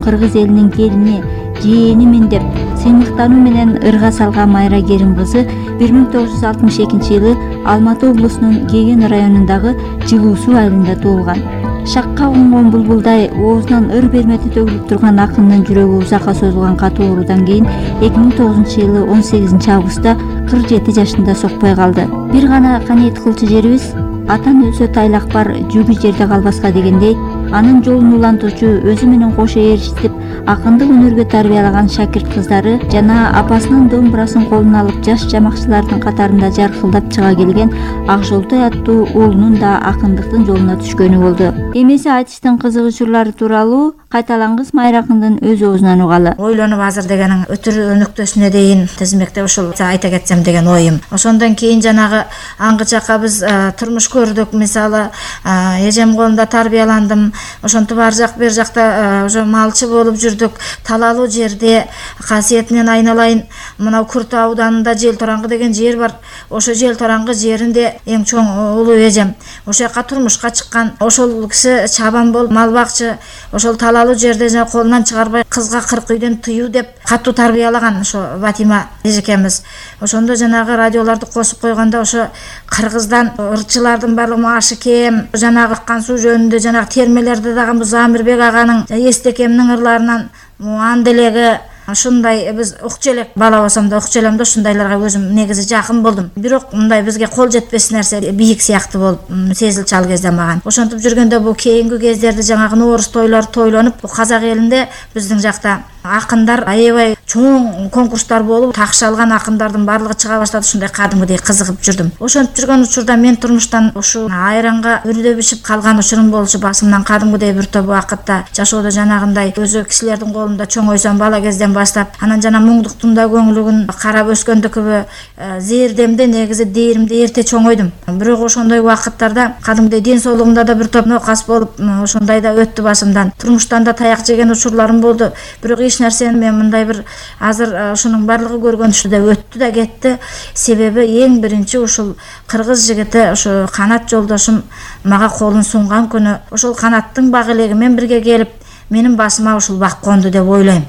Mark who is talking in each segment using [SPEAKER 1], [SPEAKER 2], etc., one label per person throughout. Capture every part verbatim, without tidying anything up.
[SPEAKER 1] кыргыз элинин келини, жээнимин деп сыймыктануу менен ырга салган Майра Керим кызы бир миң тогуз жүз алтымыш экинчи жылы Алматы облусунун Кеген районундагы Жылуу Суу айылында туулган. Шакка конгон булбулдай оозунан ыр бермети төгүлүп турган акындын жүрөгү узакка созулган катуу оорудан кийин эки миң тогузунчу жылы он сегизинчи августта кырк жети жашында сокпой калды. Бир гана канет кылчу жерибиз атан өлсө тайлак бар, жүгү жерде калбаска дегендей, анын жолун улантуучу, өзү менен кошо ээрчитип акындык өнөргө тарбиялаган шакирт кыздары жана апасынын домбурасын колуна алып жаш жамакчылардын катарында жаркылдап чыга келген Акжолтой аттуу уулунун да акындыктын жолуна түшкөнү болду. Эмеси айтыштын кызык учурлары тууралуу кайталангыс Майра акындын өз оозунан угалы.
[SPEAKER 2] Ойлонуп азыр дегенин өтүр өнөктөсүнө дейин тизмектеп ушул айта кетсем деген оюм. Ошондон кийин жанагы аңгы жакка биз турмуш көрдүк. Мисалы, эжем колунда тарбияландым. Ошентип ар жак бер жакта ошо малчы болуп жүрдүк. Талалуу жерде касиетинен айналайын, мына Күрт ауданында Жел Тораңгы деген жер бар. Ошо Жел Тораңгы жеринде эң чоң улуу эжем. Ошол жака турмушка чыккан. Ошол киши чабан болуп мал бакчы. Ошол талалуу жерде жана колунан чыгарбай кызга кырк үйдөн тыюу деп катуу тарбиялаган ошо Батима эжекемиз. Ошондо жанагы радиолорду косуп койгондо ошо кыргыздан ырчылардын баардыгы ашы кем, жанагы аккан суу жөнүндө жанагы термелерди дагы Замирбек аганын, Эстекемдин ырларынан анделеги ушундай биз укчу элек бала болсом да укчу элем да ушундайларга өзүм негизи жакын болдум. Бирок мындай бизге кол жетпес нерсе бийик сыяктуу болуп сезилчү ал кезде мага. Ошентип жүргөндө бул кийинки кездерде жанагы нооруз тойлор тойлонуп, бул казак элинде биздин жакта акындар аябай чоң конкурстар болуп, такшы алган акындардын баардыгы чыга баштады. Ушундай кадимгидей кызыгып жүрдүм. Ошентип жүргөн учурда мен турмуштан ушу айранга үрдө бишип калган учурум болчу. Басымдан кадимгидей бир топ убакытта жашоодо жанагындай өзү кишилердин колунда чоңойсом бала кезден баштап, анан жана муңдуктун да көңүлүгүн карап өскөндүкүбү зээрдемде негизи дээримде эрте чоңойдум. Бирок ошондой убакыттарда кадимгидей ден соолугумда да бир топ нокас болуп, ошондой да өттү басымдан. Турмуштан да таяк жеген учурларым болду. Бирок эч нерсени мен мындай бир азыр ушунун баардыгы көргөнүчтү өттү да кетти. Себеби эң биринчи ушул кыргыз жигити, ошо Канат жолдошум мага колун сунган күнү ошол Канаттын бак элеги менен бирге келип, менин басыма ушул бак конду деп ойлойм.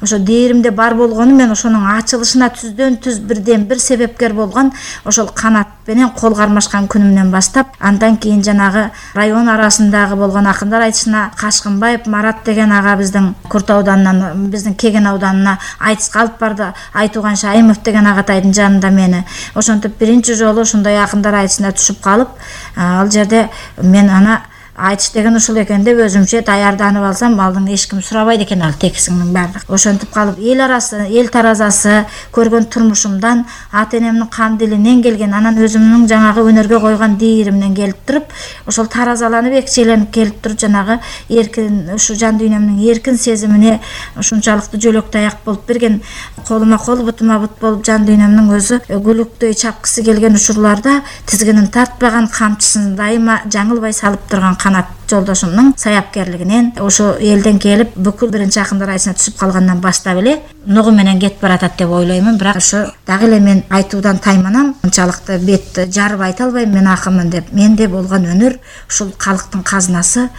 [SPEAKER 2] Ошо дээримде бар болгону мен ошонун ачылышына түздөн түз бирден бир себепкер болгон ошол Канат менен кол кармашкан күнүмдөн баштап, андан кийин жанагы район арасындагы болгон акындар айтышына Кашкынбаев Марат деген ага биздин Күрт ауданынан биздин Кеген ауданына айтыска алып барды. Айтуган Шайымов деген агатайдын жанында мени. Ошентип биринчи жолу ушундай акындар айтышына түшүп калып, ал жерде мен ана айтыш деген ушул экен деп өзүмчө даярданып алсам, алдын эч ким сурабайт экен ал текисиңдин баардыгы. Ошентип калып эл арасы, эл таразасы көргөн турмушумдан, ата энемдин кан дилинен келген, анан өзүмдүн жанагы өнөргө койгон дээримден келип туруп, ошол таразаланып экчеленип келип туруп, жанагы эркин, ушу жан дүйнөмдүн эркин сезимине ушунчалыктуу жөлөк таяк болуп берген, колума кол, бутума бут болуп жан дүйнөмдүн өзү гүлүктөй чапкысы келген учурларда тизгинин тартпаган, камчысын дайыма жаңылбай салып турган Канат жолдошумдун саяпкерлигинен, ошо элден келип бүкүл биринчи акындар айтышына түшүп калгандан баштап эле нугу менен кетип баратат деп ойлоймун. Бирок ошо дагы эле мен айтуудан тайманам, унчалыкты бет жарып айта албайм мен акынмын деп. Менде болгон өнөр ушул калктын казынасы,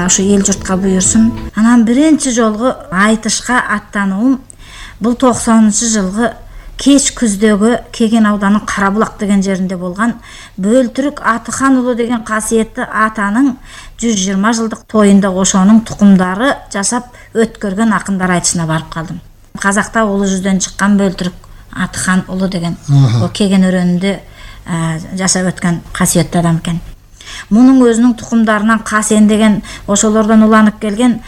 [SPEAKER 2] ушу эл журтка буйрсун. Анан биринчи жолку айтышка аттануум бул токсонунчу жылгы кеч күздөгү Кеген ауданынын Карабулак деген жеринде болгон Бөлтүрүк Атыхан уулу деген касиеттүү атанын жүз жыйырма жылдык тоюнда ошонун тукумдары жасап өткөргөн акындар айтышына барып калдым. Казакта улуу жүздөн чыккан Бөлтүрүк Атыхан уулу деген о Кеген өрөөнүндө жашап өткөн касиеттүү адам экен. Мунун өзүнүн тукумдарынан Касен деген ошолордон уланып келген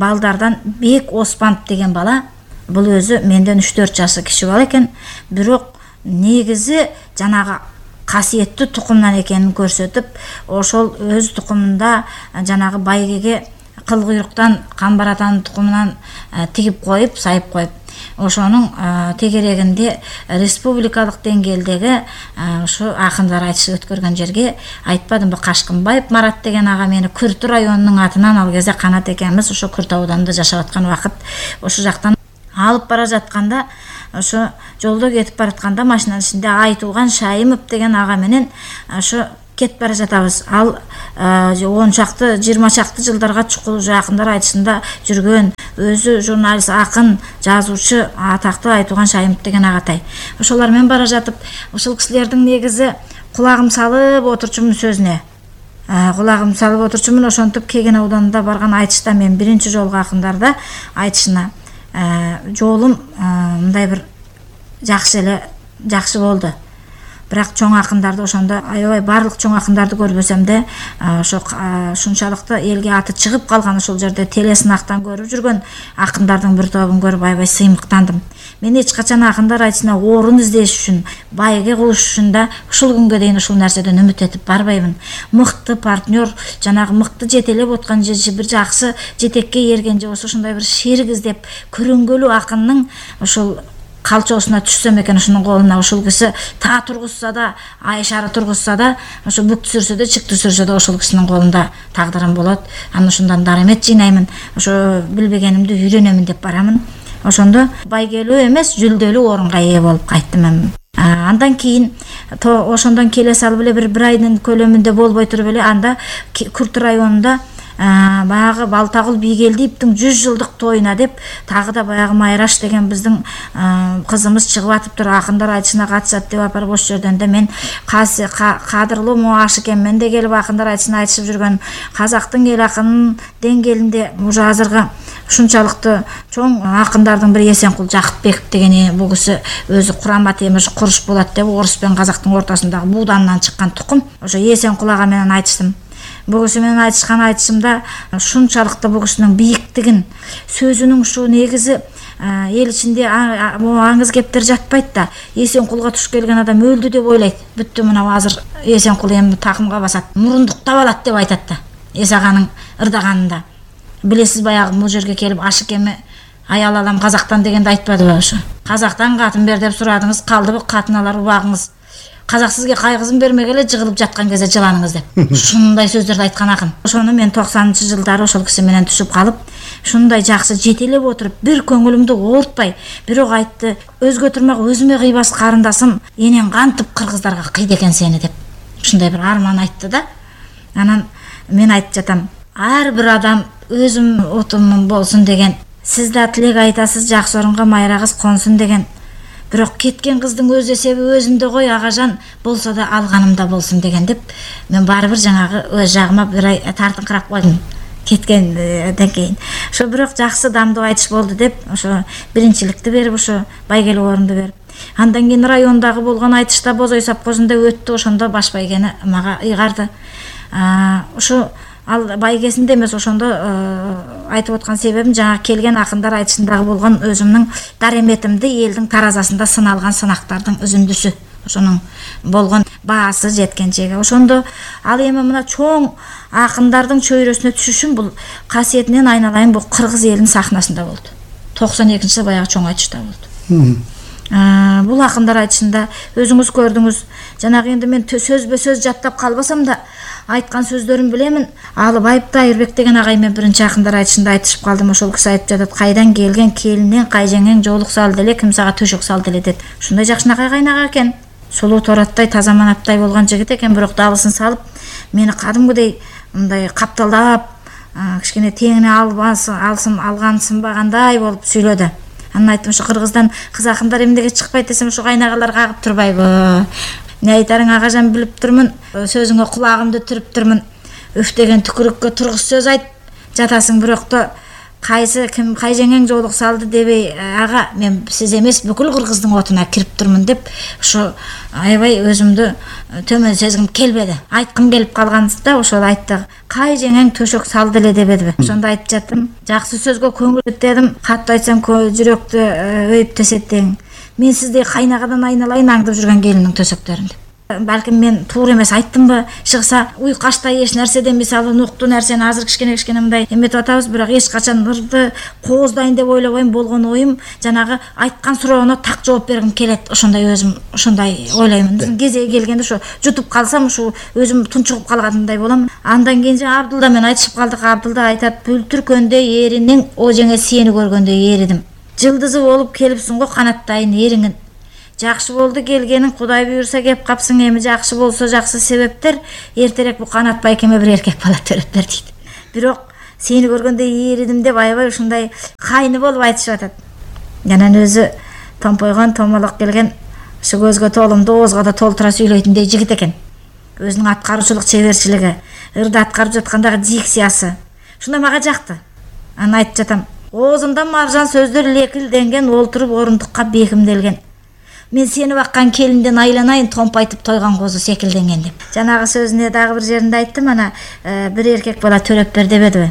[SPEAKER 2] балдардан Бек Оспанов деген бала, бул өзү менден үч төрт жашы кичи бала экен, бирок негизи жанагы касиеттүү тукумдан экенин көрсөтүп, ошол өз тукумунда жанагы байгеге кыл куйруктан Камбар атанын тукумунан тигип коюп, сайып коюп, ошонун тегерегинде республикалык деңгээлдеги ушу акындар айтышы өткөргөн жерге айтпадымбы, Кашкынбаев Марат деген ага мени Күрт районунун атынан, ал кезде Канат экенбиз ошо Күрт ауданында жашап аткан убакыт, ошо жактан алып бара жатканда, ошо жолдо кетип баратканда машинанын ичинде Айтууган Шайымов деген ага менен ошо кетип бара жатабыз. Ал он чакты жыйырма чакты жылдарга чукул акындар айтышында жүргөн өзү журналист, акын, жазуучу, атактуу Айтуган Шайымов деген агатай. Ошолар менен бара жатып, ушул кишилердин негизи кулагым салып отурчумун сөзүнө. Кулагым салып отурчумун, ошентип Кеген ауданында барган айтышта мен биринчи жолку акындарда айтышына жолум мындай бир жакшы эле жакшы болду. Бирок чоң акындарды ошондо аябай барлык чоң акындарды көрбөсөм да, ошо ушунчалыкты элге аты чыгып калган ошол жерде телесынактан көрүп жүргөн акындардын бир тобун көрүп аябай сыймыктандым. Мен эч качан акындар айтышына орун издеш үчүн, байге кылыш үчүн да ушул күнгө дейин ушул нерседен үмүт этип барбайбын. Мыкты партнер, жанагы мыкты жетелеп откан же бир жакшы жетекке эрген же ошондой бир шерик издеп көрөнгөлүү акындын ошол калчоосуна түшсөм экен, ушунун колуна ушул киши та тургузса да, айшары тургузса да, ошо бүк түсүрсө да, чык түсүрсө да ошол кишинин колунда тагдырым болот. Анан ушундан дарамет жыйнаймын, ошо билбегенимди үйрөнөмүн деп барамын. Ошондо байгелүү эмес, жүлдөлүү орунга ээ болуп кайттым. Андан кийин ошондон келе салып эле бир бир айдын көлөмүндө болбой туруп эле анда Күрт районунда баягы Балтагул Бийгелдиевдин жүз жылдык тоюна деп тагы да баягы Майраш деген биздин кызымыз чыгып атыптыр, акындар айтышына катышат деп апарып ошол жерден да мен кадырлуу Моаш экенмен де келип акындар айтышына айтышып жүргөн казактын эл акынынын деңгээлинде уже азыркы ушунчалыкты чоң акындардын бири Эсенкул Жакыпбеков деген бул киши өзү Курама темир куруш болот деп орус менен казактын ортосундагы буудандан чыккан тукум. Ошо Эсенкул ага менен айтыштым. Бул киши менен айтышкан айтышымда ушунчалыкты бул кишинин бийиктигин, сөзүнүн ушу негизи эл ичинде аңыз кептер жатпайт да. Эсенкулга туш келген адам өлдү деп ойлойт. Бүттү, мына азыр Эсенкул эми такымга басат, мурундуктап алат деп айтат да. Эс аганын ырдаганында. Билесиз, баягы бул жерге келип Ашыкеме аял алам казактан дегенди айтпадыбы ошо? Казактан катын бер деп сурадыңыз, калдыбы катын алар убагыңыз. Казак сизге кайгызын бермегеле жыгылып жаткан кезде жыланыңыз деп. Ушундай сөздөрдү айткан акын. Ошону мен токсонунчу жылдары ошол киши менен түшүп калып, ушундай жакшы жетелеп отуруп, бир көңүлүмдү оорутпай, бирок айтты, өзгө турмак өзүмө кыйбас карындасым, энең кантип кыргыздарга кыйды экен сени деп. Ушундай бир арман айтты да. Анан мен айтып жатам, ар бир адам өзүм отумун болсун деген. Сиз да тилек айтасыз, жакшы орунга майра кыз консун деген. Бирок кеткен кыздын өз эсеби өзүндө кой, агажан болсо да алганымда болсун деген деп, мен баары бир жанагы өз жагыма бир ай тартыңкырап койдум кеткенден кийин. Ошо бирок жакшы дамдуу айтыш болду деп, ошо биринчиликти берип, ошо байгелүү орунду берип. Андан кийин райондагы болгон айтышта Бозой совхозунда өттү, ошондо баш байгени мага ыйгарды. Ошо ал байгесинде эмес, ошондо айтып аткан себебим жана келген акындар айтышындагы болгон өзүмдүн дареметимди элдин таразасында сыналган сынактардын үзүндүсү. Ошонун болгон баасы жеткенчеге. Ошондо ал эми мына чоң акындардын чөйрөсүнө түшүшүм бул касиетинен айналайын бул кыргыз элинин сахнасында болду. токсон экинчи жылы баягы чоң айтышта болду. Бул акындар айтышында өзүңүз көрдүңүз. Жанагы энди мен сөзбө сөз жаттап калбасам да айткан сөздөрүн билемин. Алыбаев Тайырбек деген агай мен биринчи акындар айтышында айтышып калдым. Ошол киши айтып жатат, кайдан келген келинен кайжеңең жоолук салды эле, ким сага төшөк салды эле деп. Ушундай жакшынакай кайнага экен. Сулуу тораттай, таза манаптай болгон жигит экен, бирок дабысын салып, мени кадимгидей мындай капталдап, кичине теңине албасын, алсын, алган сынбагандай болуп сүйлөдү. Анан айттым, ушу кыргыздан кыз акындар эмнеге чыкпайт десем, ушу кайнагалар кагып турбайбы? Не айтарың агажан билип турмун, сөзүңө кулагымды түрүп турмун. Үф деген түкүрүккө тургуз сөз айт жатасың, бирок да кайсы ким кайжеңең жоолук салды дебей, ага мен сиз эмес бүкүл кыргыздын отуна кирип турмун деп, ошо аябай өзүмдү төмөн сезгим келбеди. Айткым келип калганда ошол айтты. Кайжеңең төшөк салды эле дебедиби? Ошондо айтып жаттым. Жакшы сөзгө көңүл этедим, катты айтсам жүрөктү өйүп тесеттең. Мен сиздей кайнагадан айналайын аңдып жүргөн келиндин төсөктөрүн деп. Балким мен туура эмес айттымбы? Чыкса уйкаштай эч нерседен мисалы нуктуу нерсени азыр кичкене кичкене мындай эметип атабыз, бирок эч качан ырды кооздайын деп ойлобойм. Болгон оюм жанагы айткан суроону так жооп бергим келет. Ошондой өзүм ошондой ойлоймун. Кезеги келгенде ошо жутуп калсам, ушу өзүм тунчугуп калгандай болом. Андан кийин Абдулда менен айтышып калдык. Абдулда айтат, бүлтүркөндө эринин ожеңе сени көргөндө эридим. Жылдызы болуп келипсиң го канаттайын эриңин. жакшы болду келгениң, Кудай буйрса кеп капсың, эми жакшы болсо жакшы себептер, эртерээк бу Канат байкеме бир эркек бала төрөп бер дейт. Бирок сени көргөндө ийридим деп аябай ушундай кайны болуп айтышып атат. Анан өзү томпойгон, томолок келген, ушу көзгө толумду оозго да толтура сүйлөйтүндөй жигит экен. Өзүнүн аткаруучулук чеберчилиги, ырды аткарып жаткандагы дикциясы ушундай мага жакты. Анан айтып жатам, оозунда маржан сөздөр лекилденген, олтуруп орундукка бекимделген. Мен сени баккан келинден айланайын, томпайтып тойгон козу секилденген деп. Жанагы сөзүнө дагы бир жеринде айттым, ана бир эркек бала төрөп бер дебедиби?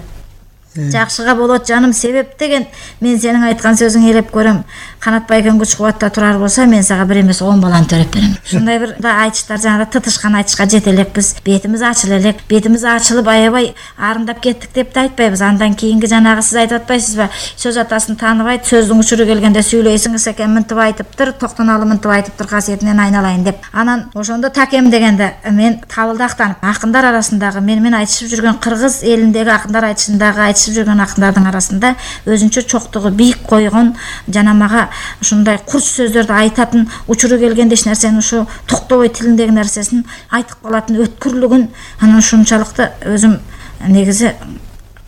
[SPEAKER 2] Жакшыга болот жаным себеп деген, мен сенин айткан сөзүңдү элеп көрөм. Канат байкең күч кубатта турар болсо, мен сага бир эмес он баланы төрөп берем. Ушундай бир да айтыштар, жана тытышкан айтышка жете элекпиз. Бетimiz ачыла элек, бетimiz ачылып аябай арындап кеттик деп да айтпайбыз. Андан кийинки жанагы сиз айтып атпайсызбы? Сөз атасын тааныбайт, сөздүн учуру келгенде сүйлөйсүңүз экен, мынтип айтыптыр, токтоналы мынтип айтыптыр, касиетинен айналайын деп. Анан ошондо такем дегенде мен табылды актанып, акындар арасындагы менен айтышып жүргөн кыргыз элиндеги акындар айтышындагы айтышып жүргөн акындардын арасында өзүнчө чоктугу бийик койгон, жана мага ушундай курч сөздөрдү айтатын, учуру келгенде эч нерсени ушу токтобой тилиндеги нерсесин айтып калатын өткүрлүгүн, анан ушунчалыкты өзүм негизи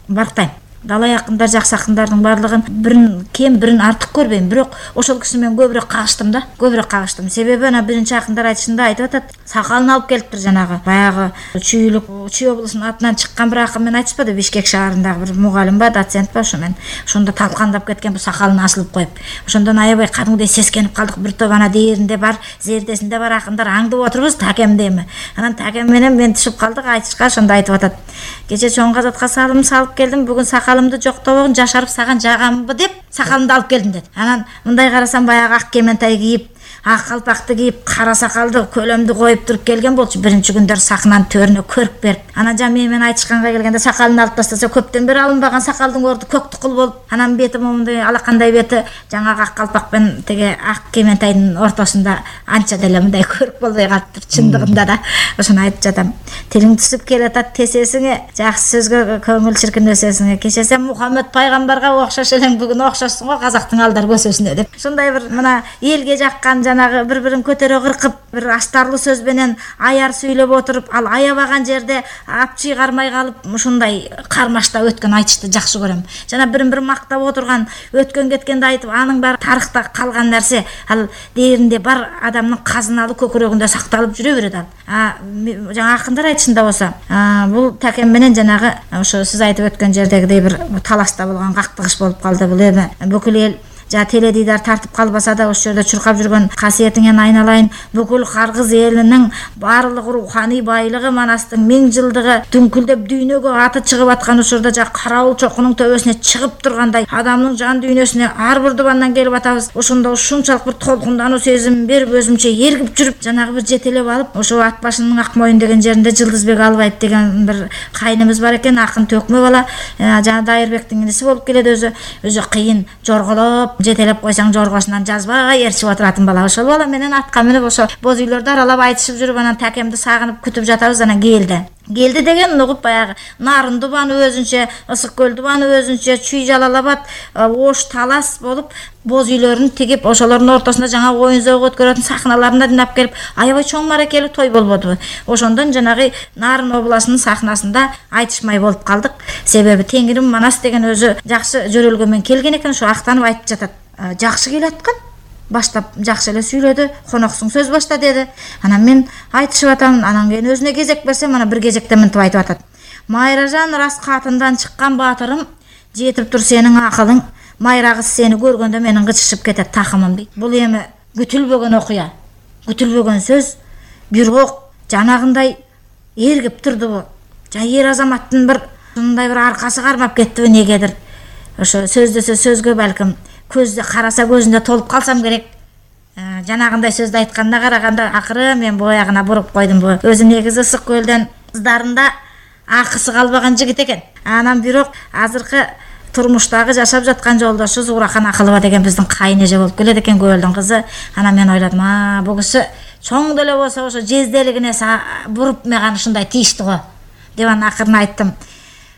[SPEAKER 2] бактайм. Далай акындар, жакшы акындардын баардыгын бирин кем, бирин артык көрбөйм, бирок ошол киши менен көбүрөөк кагыштым да, көбүрөөк кагыштым. Себеби ана биринчи акындар айтышында айтып атат, сакалын алып келиптир жанагы. Баягы Чүй Чүй облусунун атынан чыккан бир акын менен айтышпады, Бишкек шаарындагы бир мугалим ба, доцент ба, ошо менен ошондо талкандап кеткен, бу сакалын асылып коюп. Ошондон аябай кадимдей сескенип калдык. Бир топ ана дээринде бар, зердесинде бар акындар аңдып отурбуз, такемдеми. Анан такем менен мен түшүп калдык айтышка, ошондо айтып атат. Кече чоң казатка салым салып келдим, бүгүн сакалымды жоктобогун жашарып саган жагамбы деп сакалымды алып келдим деди. Анан мындай карасам баягы ак кементай кийип, ак калпакты кийип, кара сакалды, көлөмдү коюп туруп келген болчу. Биринчи күндөр сахнанын төрүнө көрүп берип. Анан жа мен менен айтышканга келгенде сакалын алып тастаса, көптөн бери алынбаган сакалдын орду көк тукул болуп, анан бети момундай алакандай бети жаңагы ак калпак менен теге ак кементайдын ортосунда анча деле мындай көрүк болбой калыптыр чындыгында да. Ошону айтып жатам. Тилиң түсүп келатат тесесиңе, жакшы сөзгө көңүл чиркинесесиңе. Кече сен Мухаммед пайгамбарга окшош элең, бүгүн окшошсуң го казактын алдар көсөсүнө деп. Ушундай бир мына элге жаккан жанагы бири-бирин көтөрө кыркып, бир астарлуу сөз менен аяр сүйлөп отуруп, ал аябаган жерде апчый кармай калып, ушундай кармаштап өткөн айтышты жакшы көрөм. Жана бирин-бир мактап отурган, өткөн кеткенди айтып, анын баары тарыхта калган нерсе, ал дээринде бар адамдын казыналуу көкүрөгүндө сакталып жүрө берет ал. А жана акындар айтышында болсо, бул такем менен жанагы ошо сиз айтып өткөн жердегидей бир талашта болгон кактыгыш болуп калды. Бул эми бүкүл эл жа теледидар тартып калбаса да ошол жерде чуркап жүргөн касиетиңен айналайын, бүкүл Кыргыз элинин баарлык руханий байлыгы, Манастын миң жылдыгы дүңкүлдөп дүйнөгө аты чыгып аткан учурда жа карабул чокунун төбөсүнө чыгып тургандай адамдын жан дүйнөсүнө ар бир дубандан келип атабыз. Ошондо ушунчалык бир толкундануу сезим берип, өзүмчө эргип жүрүп, жанагы бир жетелеп алып, ошо ат башынын ак моюн деген жеринде Жылдызбек Албаев деген бир кайнымыз бар экен, акын төкмө бала, жана Дайырбектин иниси болуп келет, өзү өзү кыйын жорголоп жетелеп койсоң жоргосунан жазбай ээрчип отуратын бала. Ошол бала менен атка минип ошо боз үйлөрдү аралап айтышып жүрүп, анан такемди сагынып күтүп жатабыз. Анан келди. Келди деген угуп баягы Нарын дубаны өзүнчө, Ысык көл дубаны өзүнчө, Чүй Жалалабад, Ош Талас болуп, боз үйлөрүн тигип, ошолордун ортосунда жаңа оюн зоого өткөрөтүн сахналарына динап келип, аябай чоң маракелүү той болбодубу. Ошондон жанагы Нарын областынын сахнасында айтышмай болуп калдык. Себеби Теңирим Манас деген өзү жакшы жөрөлгөмөн келген экен, ошо актанып айтып жатат. Жакшы келаткан. Баштап жакшы эле сүйлөдү, коноксуң сөз башта деди. Анан мен айтышып атам, анан кийин өзүнө кезек берсем, анан бир кезекте мынтип айтып атат. Майражан рас катындан чыккан баатырым, жетип тур сенин акылың, майра кыз сени көргөндө менин кычышып кетет такымым дейт. Бул эми күтүлбөгөн окуя, күтүлбөгөн сөз, бирок жанагындай эргип турдубу? Жа эр азаматтын бир мындай бир аркасы кармап кеттиби негедир? Ошо сөздөсө сөзгө балким көздө караса көзүндө толуп калсам керек. Жанагындай сөздү айтканына караганда акыры мен боягына буруп койдум. Бу өзү негизи Ысык көлдөн кыздарында акысы калбаган жигит экен. Анан бирок азыркы турмуштагы жашап жаткан жолдошу Зуурахан Акылова деген биздин кайын эже болуп келет экен, Көөлдүн кызы. Анан мен ойладым, а бул киши чоң деле болсо ошо жезделигине буруп меган ушундай тийишти го деп анан акырын айттым.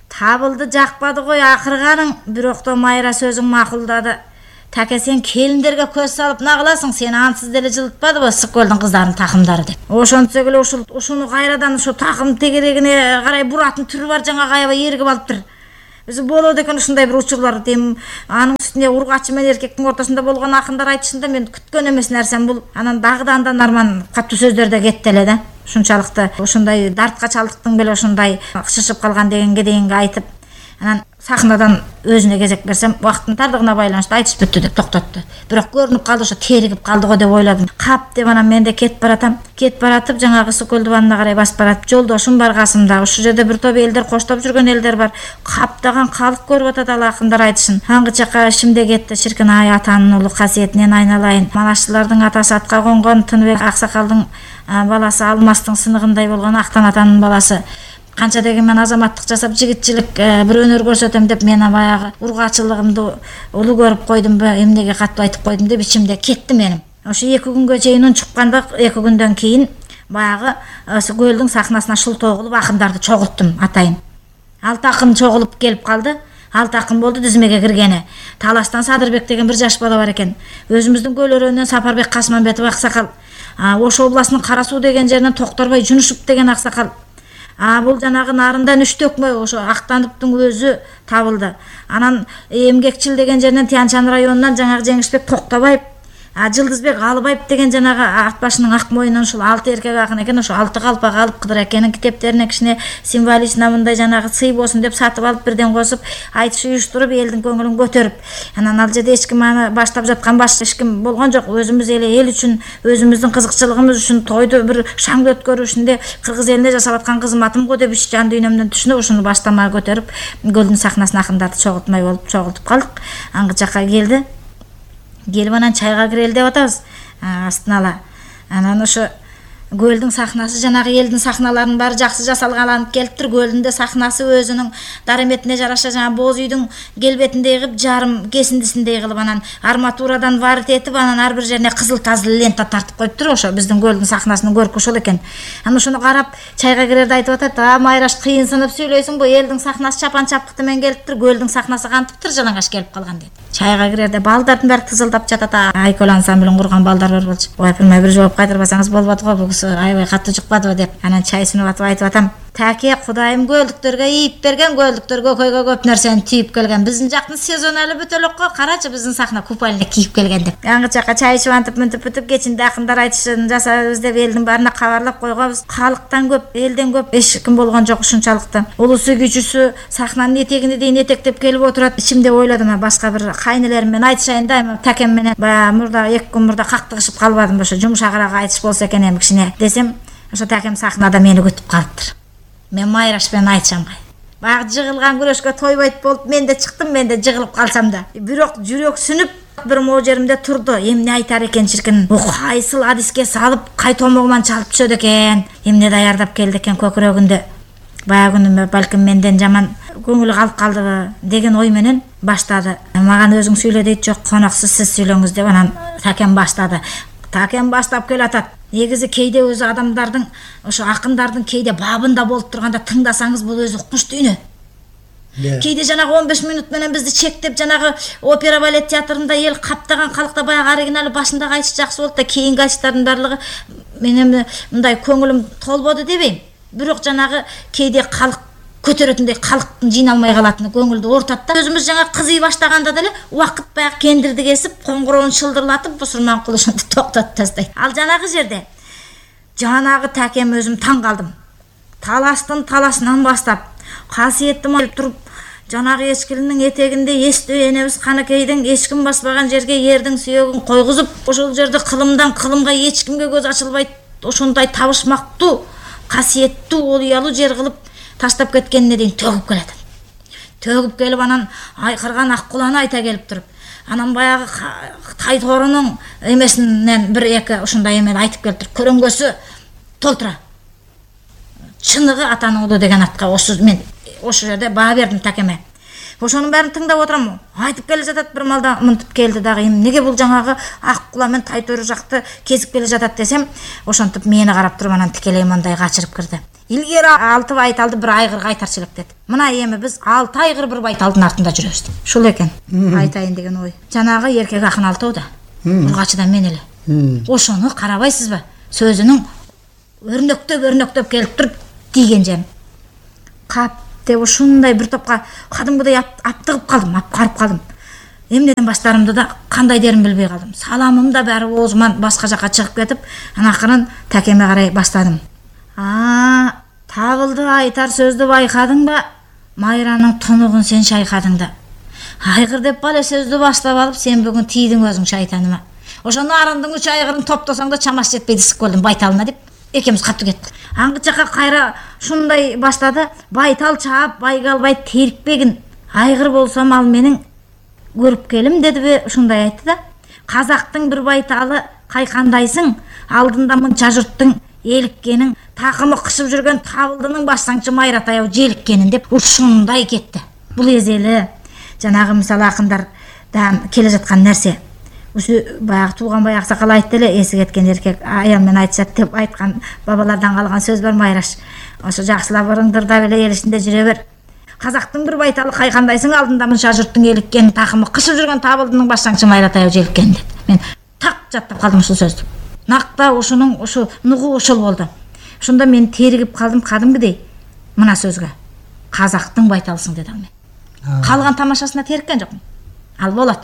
[SPEAKER 2] Табылды жакпады гой акырганың, бирок то майра сөзүң макулдады. таке сен келиндерге көз салып на кыласың, сени ансыз деле жылытпадыбы ысык көлдүн кыздарынын такымдары деп. Ошентсек эле ушул ушуну кайрадан ушу такым тегерегине карай буратын түрү бар, жаңа аябай эргип алыптыр. Биз болот экен ушундай бир учурлар. Дем анын үстүнө ургачы менен эркектин ортосунда болгон акындар айтышында мен күткөн эмес нерсем бул. Анан дагы да андан арман катуу сөздөр да кетти эле да. Ушунчалыкты ушундай дартка чалдыктың беле ушундай шышып калган дегенге дейинги айтып, анан сахнадан өзүнө кезек берсем, убакыттын тардыгына байланыштуу айтыш бүттү деп токтотту. Бирок көрүнүп калды, ошо теригип калды го деп ойладым. Кап деп анан мен да кетип баратам. Кетип баратып жаңагы Ысык көл дубанына карай басып баратып, жолдошум бар касымда. Ушул жерде бир топ элдер коштоп жүргөн элдер бар. Каптаган калык көрүп атат ал акындар айтышын. Аңгы жака ишимде кетти. Ширкин ай атанын улуу касиетинен айналайын. Манашчылардын атасы атка конгон, Тыныбек аксакалдын баласы Алмастын сыныгындай болгон Актан атанын баласы. Канча дегенмен азаматтык жасап жигитчилик бир өнөр көрсөтөм деп мен баягы ургачылыгымды улуу көрүп койдумбу, эмнеге каттуу айтып койдум деп ичимде кетти менин. Ошо эки күнгө чейин ун чыкканда, эки күндөн кийин баягы ошо көлдүн сахнасына шултоо кылып акындарды чогулттум атайын. Алты акын чогулуп келип калды. Алты акын болду тизмеге киргени. Таластан Садырбек деген бир жаш бала бар экен. Өзүмүздүн көл өрөөнүнөн Сапарбек Касманбетов аксакал. Ош областынын Кара Суу деген жеринен Токторбай Жунушев деген аксакал. А бул жанагы нарындан үч төкмө ошо Актандыптын өзү табылды. Анан Эмгекчил деген жеринен Тянчан районунан жанагы Жеңишбек Токтобаев, а Жылдызбек Алыбаев деген жанагы ат башынын ак мойнунан ушул алты эркек акын экен. Ошо алты калпак алып Кыдыр экенин китептерине кичине символична мындай жанагы сый болсун деп сатып алып бирден косуп айтыш уюштуруп элдин көңүлүн көтөрүп. Анан ал жерде эч ким аны баштап жаткан баш эч ким болгон жок. Өзүмүз эле эл үчүн, өзүмүздүн кызыкчылыгыбыз үчүн тойду бир шаңды өткөрүшүндө кыргыз элине жасап аткан кызматым го деп иш жан дүйнөмдөн түшүнүп ушуну баштама көтөрүп көлдүн сахнасына акындарды чогултмай болуп чогултуп калдык. Аңгы жакка келди. Келип анан чайга кирели деп атабыз. Астына ала. Анан ошо көлдүн сахнасы жанагы элдин сахналарынын баары жакшы жасалганланып келиптир. Көлдүн да сахнасы өзүнүн дараметине жараша жана боз үйдүн келбетиндей кылып, жарым кесиндисиндей кылып, анан арматурадан варит этип, анан ар бир жерине кызыл тазыл лента тартып коюптур. Ошо биздин көлдүн сахнасынын көркү ошол экен. Анан ошону карап чайга кирерде айтып атат: "А, Майраш, кыйынсынып сүйлөйсүңбү? Элдин сахнасы чапан чапкыты менен келиптир, көлдүн сахнасы кантиптир жалаңаш келип калган" дейт. Чайга кирерде балдардын баары тызылдап жатат. Айкөл ансамблин курган балдар бар болчу. Ой, апырмай, бир жооп кайтарбасаңыз болбоду го, бул киши аябай катуу жукпадыбы деп. Анан чай сунуп атып айтып атам: "Таке, Кудайым көлдүктөргө ийип берген, көлдүктөр көкөйгө көп нерсени түйүп келген. Биздин жактын сезону эле бүтө элек го. Карачы, биздин сахна купальник кийип келген" деп. Аңгы жакка чай ичип антип мынтип бүтүп кечинде акындар айтышын жасайбыз деп элдин баарына кабарлап койгонбуз. Калыктан көп, элден көп эч ким болгон жок ушунчалыкты. Улусу кичүүсү сахнанын этегине дейин этектеп келип отурат. Ичимде ойладым, башка бир кайнелерим менен айтышайын да, такем менен баягы мурда эки күн мурда кактыгышып калбадым, ошо жумшагыраак айтыш болсо экен эми кичине десем, ошо такем сахнада мени күтүп калыптыр. Мен Майраш менен айтышам кай. Баягы жыгылган күрөшкө тойбойт болуп мен да чыктым, мен да жыгылып калсам да. Бирок жүрөк сүнүп бир могу жеримде турду. Эмне айтар экен чиркин? Бу кайсыл адиске салып, кай томогуман чалып түшөт экен? Эмне даярдап келди экен көкүрөгүндө? Баягы күнү балким менден жаман көңүлү калып калдыбы деген ой менен баштады. Мага өзүң сүйлө дейт, жок, коноксуз сиз сүйлөңүз деп анан такем баштады. Такем баштап келатат. Негизи кейде өзү адамдардын, ошо акындардын кейде бабында болуп турганда тыңдасаңыз бул өзү укмуш дүйнө. Кейде жанагы он беш минут менен бизди чектеп жанагы опера балет театрында эл каптаган калыкта баягы оригиналы башындагы айтыш жакшы болду да, кийинки айтыштардын баардыгы менен мындай көңүлүм толбоду дебейм. Бирок жанагы кейде калык көтөрөтүндөй калыктын жыйналмай калатыны көңүлдү оортат да. Өзүмүз жаңа кызый баштаганда деле убакыт баягы кендирди кесип, коңгуроон шылдырлатып, бусурман кылышынды токтотуп тастайт. Ал жанагы жерде жанагы такем өзүм таң калдым. Таластын таласынан баштап, касиеттим алып туруп, жанагы эчкилинин этегинде эстөө энебиз Каныкейдин эч ким баспаган жерге эрдин сүйөгүн койгузуп, ошол жерде кылымдан кылымга эч кимге көз ачылбайт, ошондой табышмактуу, касиеттүү, олуялуу жер кылып таштап кеткенине дейин төгүп келет. Төгүп келип анан айкырган ак куланы айта келип туруп, анан баягы Тайторунун эмесинен бир эки ушундай эме айтып келиптир. Көрөңгөсү толтура. Чыныгы атанын уулу деген атка ошо мен ошо жерде баа бердим такеме. ошонун баарын тыңдап отурам. Айтып келе жатат бир малда мынтип келди дагы. Эмнеге бул жаңагы ак кула мен тайтөрү жакты кезип келе жатат десем, ошентип мени карап туруп анан тикелей мындай качырып кирди. Илгери алты байталды бір айгыр кайтарчы элек деди. Мына эми биз алты айгыр бір байталдын артында жүрөбүз. Ушул экен айтайын деген ой. Жанагы эркек акын алтоо да. Ургачыдан мен эле. Ошону карабайсызбы? Сөзүнүң өрнөктөп өрнөктөп келип туруп тийген жем. Кап деп ушундай бир топко кадимгидей аптыгып калдым, апкарып калдым. Эмнеден баштарымды да кандай дерин билбей калдым. Саламым да баары оозуман башка жака чыгып кетип, анан акырын такеме карай баштадым. А, табылды айтар сөздү байкадың ба? Майранын тунугун сен шайкадың да. Айгыр деп бале сөздү баштап алып, сен бүгүн тийдиң өзүң шайтаныма. Ошону арындын үч айгырын топтосоң да чамасы жетпейди сыккөлдүн байталына деп экебиз катты кеттик. Аңгы жака кайра шундай баштады. Байтал чаап, байгалбай терикпегин. Айгыр болсом ал менин көрүп келим дедиби, ушундай айтты да. Казактын бир байталы кайкандайсың, алдында мынча журттун эликкенин, такымы кышып жүргөн табылдынын башсаңчы майра таяу желиккенин деп ушундай кетти. Бул эзели жанагы мисалы акындар да келе жаткан нерсе. Ушу баягы Тууганбай аксакал айтты эле, эси кеткен эркек аял менен айтышат деп айткан бабалардан калган сөз бар Майраш. Ошо жакшылап ырыңдырдап эле эл ичинде жүрө бер. Казактын бир байталы кайкандайсың, алдында мынча журттун эликкенин, такымы кышып жүргөн табылдынын башсаңчы майра таяу желиккенин деп. Мен так жаттап калдым ушул сөздү. Накта ушунун ушу нугу ушул болду. Ошондо мен теригип калдым кадимгидей мына сөзгө. Казактын байталысың деди ал мен. Калган тамашасына териккен жокмун. Ал болот.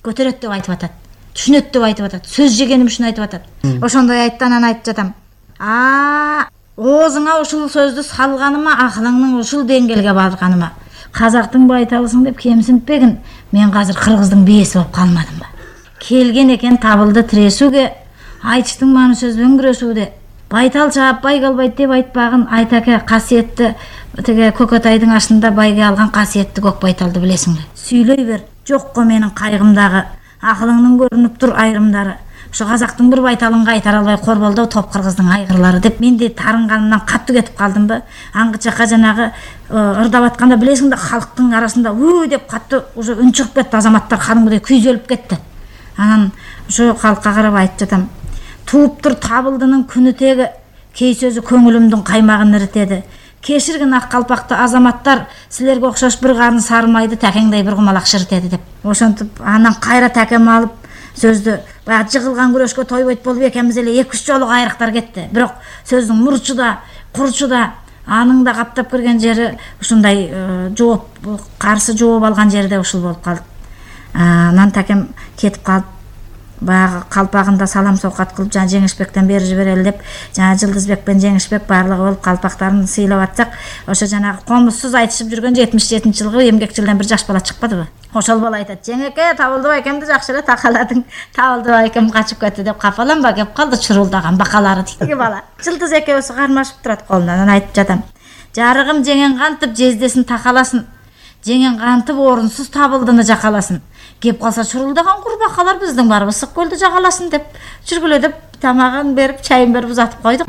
[SPEAKER 2] Көтөрөт деп айтып атат. Түшүнөт деп айтып атат. Сөз жегеним үчүн айтып атат. Ошондой айтты, анан айтып жатам. А, оозуңа ушул сөздү салганыма, акылыңның ушул деңгээлге барганыма. Казактын байталысың деп кемсинтпегин. Мен азыр кыргыздын бээси болуп калмадым ба? Келген экен табылды тирешүүгө, айтыштын мааны сөзбөн күрөшүүдө. Байтал чаап байгалбайт деп айтпагын айтаке касиетти теге Көкөтайдын ашында байге алган касиетти көк байталды билесиңби? Сүйлөй бер. Жокко менин кайгымдагы, акылыңдын көрүнүп тур айрымдары. Ошо казактын бир байталын кайтара албай корболдо топ кыргыздын айгырлары деп менди тарынганымдан катты кетип калдымбы? Аңгы чака жанагы ырдап атканда билесиң да калктын арасында уу деп катты уже үн чыгып кетти, азаматтар кадимгидей күйзөлүп кетти. Анан ошо калкка карап айтып жатам. Тууп тур табылдынын күнү теги, кей сөзү көңүлүмдүн каймагын иритеди. Кеширгин ак калпакты азаматтар, силерге окшош бир карын сармайды такеңдей бир кумалак шыртеди деп. Ошентип анан кайра такем алып сөздү баягы жыгылган күрөшкө тойбойт болуп экенбиз эле эки үч жолу кайрыктар кетти. Бирок сөздүн мурчу да, курчу да, анын да каптап кирген жери ушундай жооп, каршы жооп алган жерде ушул болуп калды. Анан такем кетип калып, баягы калпагында салам сокат кылып жана Жеңишбектен бери жиберели деп, жана Жылдызбек менен Жеңишбек баардыгы болуп калпактарын сыйлап атсак, ошо жанагы комузсуз айтышып жүргөн жетимиш жетинчи жылгы эмгекчилден бир жаш бала чыкпадыбы? Ошол бала айтат: "Жеңеке, табылды байкемди жакшы эле такаладың. Табылды байкем качып кетти" деп капаланба кеп калды чурулдаган бакалары тиги бала. Жылдыз экөөсү кармашып турат колунан. Анан айтып жатам: "Жарыгым жеңен кантип жездесин такаласын. Жеңен кантип орунсуз табылдыны жакаласын. Кеп калса чурулдаган курбакалар биздин барыбыз ысык көлдү жагаласын" деп жүргүлө деп тамагын берип, чайын берип узатып койдук.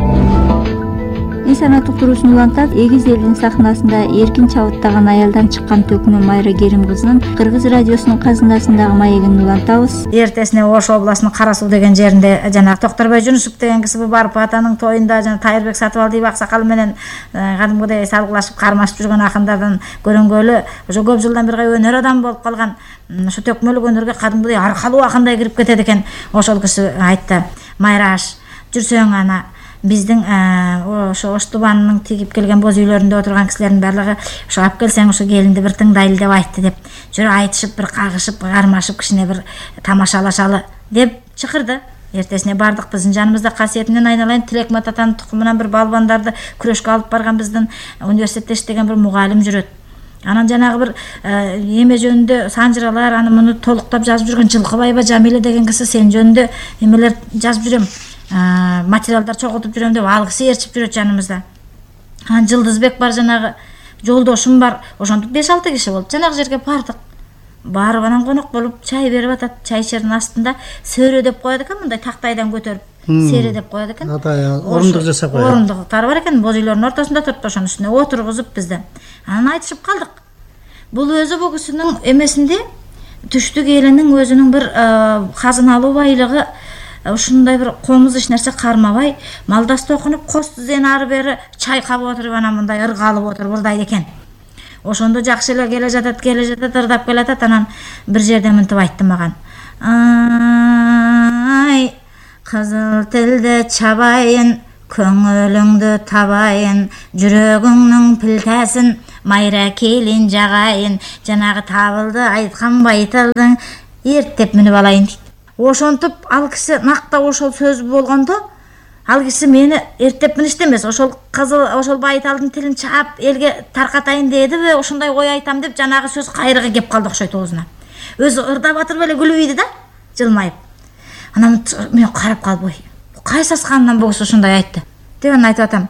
[SPEAKER 1] Несанаттык туруусун улантат, эгиз элдин сахнасында эркин чабыттаган аялдан чыккан төкмө Майра Керим кызынын Кыргыз радиосунун казынасындагы маегин улантабыз.
[SPEAKER 2] Эртесине Ош областынын Кара Суу деген жеринде жана Токторбой Жунусов деген киси барып атанын тоюнда жана Тайырбек Сатыбалдиев аксакал менен кадимгидей салгылашып кармашып жүргөн акындардан көрөнгөлү ошо көп жылдан бери өнөр адамы болуп калган. Ошо төкмөлүк өнөргө кадимгидей аркалуу акындай кирип кетет экен. Ошол киши айтты: "Майраш, жүрсөң ана биздин ошо Ош тубанынын тигип келген боз үйлөрүндө отурган кисилердин баардыгы ошо алып келсең ошо келинди бир тыңдайлы деп айтты" деп. Жүрүп айтышып бир кагышып, кармашып кичине бир тамашалашалы деп чакырды. Эртесине бардык, биздин жаныбызда касиетинен айналайын Тилек Мататанын тукумунан бир балбандарды күрөшкө алып барган биздин университетте иштеген бир мугалим жүрөт. Анан жанагы бир эме жөнүндө санжыралар, аны муну толуктап жазып жүргөн Жылкыбайба Жамиле деген киси сен жөнүндө эмелер жазып жүрөм, материалдар чогултуп жүрөм деп ал киси ээрчип жүрөт жаныбызда. Анан Жылдызбек бар, жанагы жолдошум бар. Ошентип беш алты киши болуп жанагы жерге бардык. Барып анан конок болуп чай берип атат. Чай ишердин астында сөрө деп коет экен, мындай тактайдан көтөрүп сере деп коет экен.
[SPEAKER 3] Орундук жасап коет.
[SPEAKER 2] Орундуктары бар экен, боз үйлөрдүн ортосунда турат, ошонун үстүнө отургузуп бизди. Анан айтышып калдык. Бул өзү бул кишинин эмесинде түштүк элинин өзүнүн бир казыналуу байлыгы ушундай бир комуз эч нерсе кармабай, малдас токунуп кос тизени ары бери чайкап отуруп анан мындай ыргалып отуруп ылдайт экен. Ошондо жакшы эле келе жатат, келе жатат, ырдап келатат. Анан бир жерде мынтип айтты маган. Ай, кызыл тилди чабайын, көңүлүңдү табайын, жүрөгүңнүн пилтесин майра келин жагайын, жанагы табылды айткан байтылдың эртеп мүнүп алайын дейт. Ошонтип ал киши накта ошол сөз болгондо, ал киши мени эртеп миништи эмес, ошол кызыл ошол байталдын тилин чаап элге таркатайын дедиби, ошондой ой айтам деп жанагы сөз кайрыга кеп калды окшойт оозуна. Өзү ырдап атырып эле күлүп да, жылмайып. Анан мен карап калып, ой, кай сасканынан бул киши ушундай айтты деп анан айтып атам.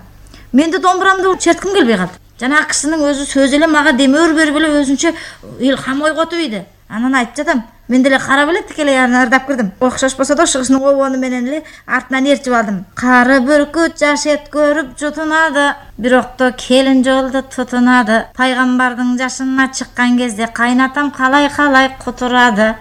[SPEAKER 2] Мен да домбурамды чертким келбей калды. Жанагы кишинин өзү сөзү эле мага демөр берип эле өзүнчө илхам ойготуп ийди. Анан айтып жатам, мен деле карап эле тикелей анан ырдап кирдим. Окшошпосо да ошо кишинин обону менен эле артынан ээрчип алдым. Кары бүркүт жаш эт көрүп жутунады, бирокто келин жолду тутунады. Пайгамбардын жашына чыккан кезде кайнатам калай-калай кутурады.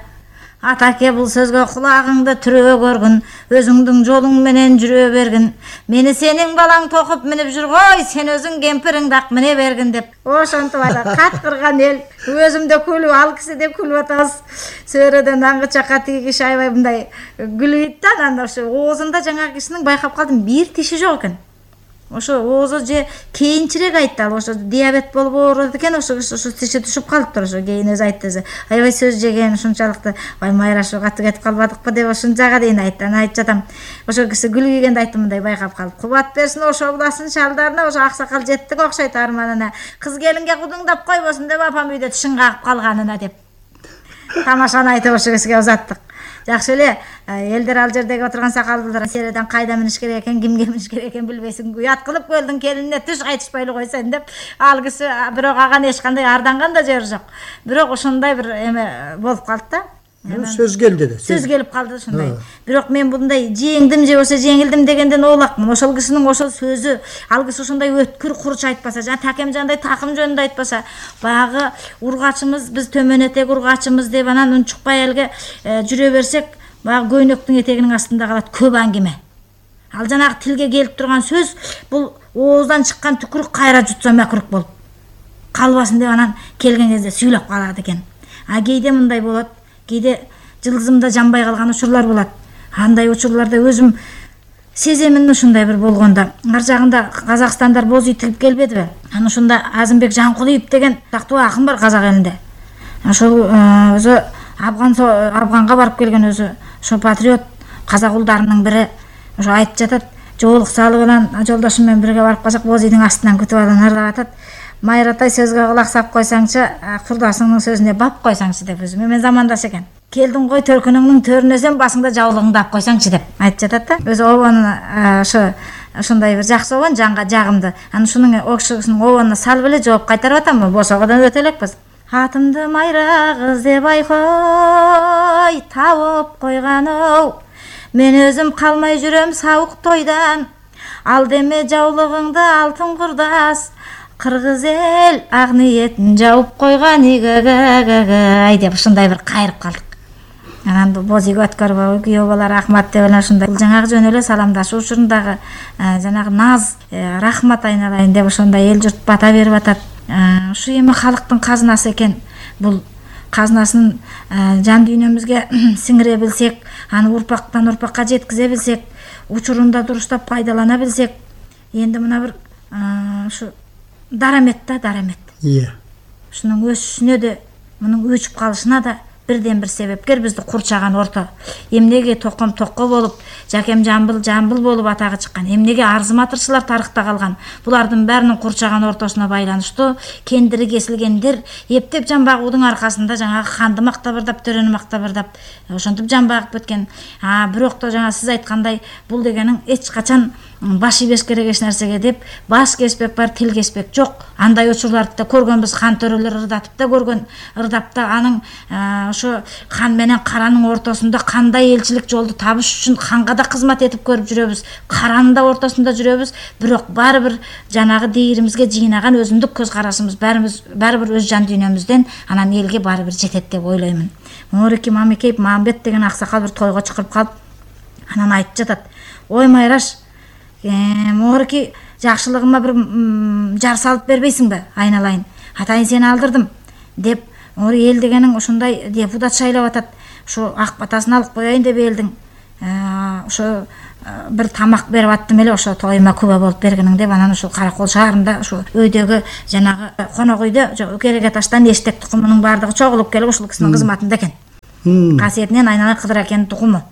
[SPEAKER 2] Атаке бул сөзгө кулагыңды түрө көргүн, өзүңдүн жолуң менен жүрө бергин. Мени сенин балаң токуп минип жүргөй, сен өзүң кемпириңди ак мине бергин деп. Ошентип ала каткырган эл, өзүм да күлүп, ал киши деп күлүп атабыз. Сөөрөдөн аңгы чакка тиги киши аябай мындай күлүп да, анан ошо оозунда жаңагы кишинин байкап калдым, бир тиши жок экен. Ошо оозу же кийинчерээк айтты, ал ошо диабет болуп ооруат экен, ошо ошо тиши түшүп калыптыр. Ошо кийин өзү айтты, аябай сөз жеген ушунчалыкты, ай майра ошо катуу кетип калбадыкпы деп ушунчага дейин айтты. Анан айтып жатам, ошо киши күлгөйгөндө айттым, мындай байкап калып. Кубат берсин ошо буласын шалдарына, ошо аксакал жеттиң окшойт арманына. Кыз келинге кудуңдап койбосун деп апам үйдө тишин кагып калганына деп. Тамашаны айтып ошо кишиге узаттык. Жакшы эле, элдер ал жердеги отурган сакалдуулар середен кайда миниш керек экен, кимге миниш керек экен билбейсиң. Уят кылып көлдүң келинине түш кайтышпайлы койсоң деп. Ал киши бирок аган эч кандай арданган да жери жок. Бирок ошондой бир эме болуп калды да.
[SPEAKER 3] Сөз келди да.
[SPEAKER 2] Сөз келип калды ушундай. Бирок мен мындай жеңдим же болсо жеңилдим дегенден оолакмын. Ошол кишинин ошол сөзү, ал киши ошондой өткүр курч айтпаса, жана Такемжандай такым жөнүндө айтпаса, баягы ургачыбыз, биз төмөн этек ургачыбыз деп анан унчукпай элге жүрө берсек, баягы көйнөктүн этегинин астында калат көп аңгеме. Ал жанагы тилге келип турган сөз, бул ооздан чыккан түкүрүк кайра жутса макрук болуп калбасын деп анан келген кезде сүйлөп калат экен. А кээде мындай болот. Кээде жылдызымда жанбай калган учурлар болот. Андай учурларда өзүм сеземин ушундай бир болгондо. Ар жагында Казакстандар боз үй тигип келбедиби? Анан ошондо Азымбек Жанкулиев деген тактуу акын бар Казак элинде. Ошол өзү Афган Афганга барып келген өзү ошо патриот казак улдарынын бири. Ошо айтып жатат, жоолук салып анан жолдошум менен бирге барып калсак боз үйдүн астынан күтүп алып ырдап атат. Майратай сөзгө кулак сап койсоңчу, курдасыңдын сөзүнө бап койсоңчу деп өзү менен замандаш экен. Келдиң ғой төркүнүңдүн төрүнө сен басыңда жаулугуңду ап койсоңчу деп айтып жатат да. Өзү обонун ошо ошондой бир жакшы обон, жанга жагымды. Анан ушунун окшосунун обонуна салып эле жооп кайтарып атам, босогодон өтө элекпиз. Атымды майра кыз деп айкой, табып койган-оу. Мен өзүм калмай жүрөм сабык тойдан. Ал деме жаулугуңду алтын курдас. Кыргыз эл ак ниетин жауып койгон игегегегей деп ушундай бир кайрып калдык. Анан боз үйгө өткөрбөй күйөө балар рахмат деп эле ушундай. Бул жаңагы жөн эле саламдашуу учурундагы жанагы наз, рахмат айналайын деп ошондой эл журт бата берип атат. Ушу эми халыктын казынасы экен. Бул казынасын жан дүйнөмүзгө сиңире билсек, аны урпактан урпакка жеткизе билсек, учурунда дурустап пайдалана билсек, энди мына бир ушу дарамет да, дарамет.
[SPEAKER 3] Иә.
[SPEAKER 2] Ушунун өсүшүнө да, мунун өчүп калышына да бирден бир себепкер бизди курчаган орто. Эмнеге Током Токко болуп, Жакем Жамбыл Жамбыл болуп атагы чыккан? Эмнеге Арзым Атырчылар тарыхта калган? Булардын баарынын курчаган ортосуна байланыштуу кендири кесилгендер эптеп жан багуудун аркасында жанагы ханды мактап ырдап, төрөнү мактап ырдап, ошентип жан багып өткөн. А бирок да жана сиз айткандай, бул дегенин эч качан баш ийбеш керек эч нерсеге деп баш кеспек бар, тил кеспек жок. Андай учурларды да көргөнбүз, хан төрөлөр ырдатып да көргөн, ырдап да анын ошо хан менен каранын ортосунда кандай элчилик жолду табыш үчүн ханга да кызмат этип көрүп жүрөбүз, каранын да ортосунда жүрөбүз, бирок баары бир жанагы дейиримизге жыйнаган өзүндүк көз карашыбыз баарыбыз баары бир өз жан дүйнөмүздөн анан элге баары бир жетет деп ойлоймун. Моорики Мамекеев Мамбет деген аксакал бир тойго чакырып калып анан айтып жатат: "Ой Майраш, Моорики жакшылыгыма бир жар салып бербейсиңби? Айналайын. Атайын сени алдырдым" деп, ори эл дегениң ушундай депутат шайлап атат. Ушу ак батасын алып коеюн деп элдин ошо бир тамак берип аттым эле, ошо тоюма күбө болуп бергениң деп, анан ушул Каракол шаарында ушу өйдөгү жанагы конок үйдө кереге таштан эштек тукумунун баардыгы чогулуп келип ушул кишинин кызматында экен. Касиетинен айналайын Кыдыр акенин тукуму.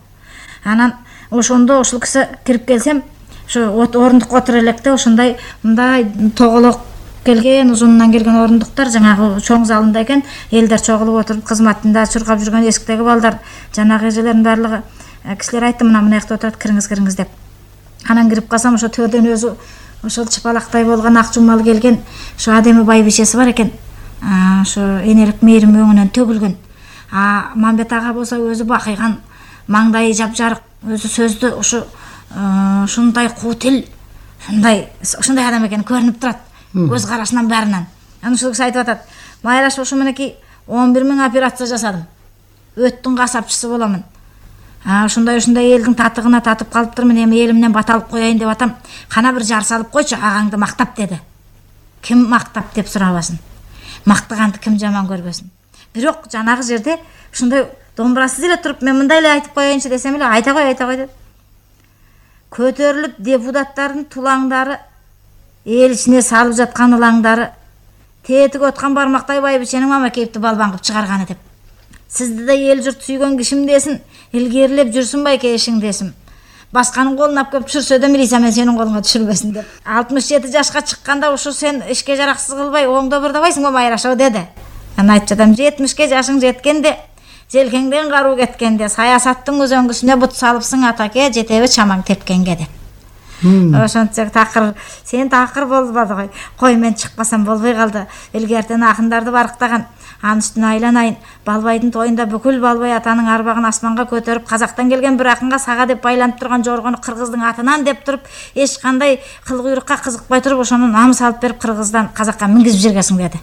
[SPEAKER 2] Анан ошондо ушул киши кирип келсем, ошо орундукка отура электе ошондой мындай тоголок келген, узунунан келген орундуктар жанагы чоң залында экен. Элдер чогулуп отуруп кызматында чуркап жүргөн эскидеги балдар, жанагы эжелердин баардыгы кишилер айтты: "Мына мына жакта отурат, кириңиз, кириңиз" деп. Анан кирип калсам, ошо төрдөн өзү ошол чыпалактай болгон ак жумал келген ошо адеми байбишеси бар экен. Ошо энелик мээрим өңүнөн төгүлгөн. А Мамбет ага болсо өзү бакыйган, маңдайы жапжарык, өзү сөздү ушу ушундай куу тил, ушундай ушундай адам экени көрүнүп турат көз карашынан баарынан. Анан ушул киши айтып атат: "Майраш, ушу менеки он бир миң операция жасадым. Өттүн касапчысы боламын. Ушундай ушундай элдин татыгына татып калыптырмын, эми элимден бат алып коеюн деп атам. Кана бир жар салып койчу, агаңды мактап" деди. Ким мактап деп сурабасын. Мактаганды ким жаман көрбөсүн. Бирок жанагы жерде ушундай домбурасыз эле туруп, мен мындай эле айтып коеюнчу десем эле, айта кой, айта кой деп. Көтөрүлүп депутаттардын тулаңдары, эл ичине салып жаткан ылаңдары, тетиги откан бармактай байбиченин Мамекеевди балбан кылып чыгарганы деп. Сизди да эл журт сүйгөн кишим десин, илгерилеп жүрсүн байке эшиң десим. Башканын колуна алып келип түшүрсө да милиция мен сенин колуңа түшүрбөсүн деп. алтымыш жети жашка чыкканда ушу сен ишке жараксыз кылбай оңдо бырдабайсыңбы Майрашо деди. Анан айтып жатам: "жетимишке жашың жеткенде, желкеңден каруу кеткенде, саясаттын өзөңгүсүнө бут салыпсың атаке, жетеби чамаң тепкенге" деп. Ошончо такыр, сен такыр болбоду кой. Кой, мен чыкпасам болбой калды. Илгертен акындарды барктаган. Анын үстүнө айланайын. Балбайдын тоюнда бүкүл Балбай атанын арбагын асманга көтөрүп, казактан келген бир акынга сага деп байланып турган жоргону кыргыздын атынан деп туруп, эч кандай кыл куйрукка кызыкпай туруп, ошону намыс алып берип кыргыздан казакка мингизип жибергенсиң деди.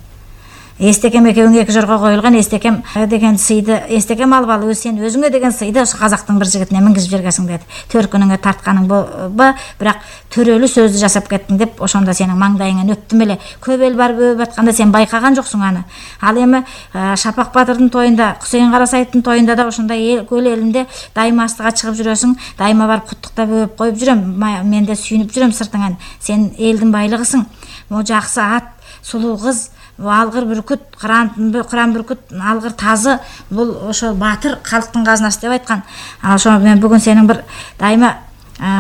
[SPEAKER 2] Эстекем экөөңө эки жорго коюлган, эстекем деген сыйды, эстекем алып ал, сен өзүңө деген сыйды ошо казактын бир жигитине мингизип жибергенсиң деди. Төркүнүңө тартканың ба, бирок төрөлүү сөздү жасап кеттиң деп, ошондо сенин маңдайыңан өптүм эле. Көп эл барып өбүп атканда сен байкаган жоксуң аны. Ал эми Шапак Батырдын тоюнда, Кусейин Карасаевдин тоюнда да ошондой эл көл элинде дайыма астыга чыгып жүрөсүң, дайыма барып куттуктап өбүп коюп жүрөм. Мен да сүйүнүп жүрөм сыртыңан. Сен элдин байлыгысың. Могу жакшы ат, сулуу кыз, алгыр бүркүт, кыран бүркүт, алгыр тазы, бул ошо батыр калктын казынасы деп айткан. Ошо мен бүгүн сенин бир дайыма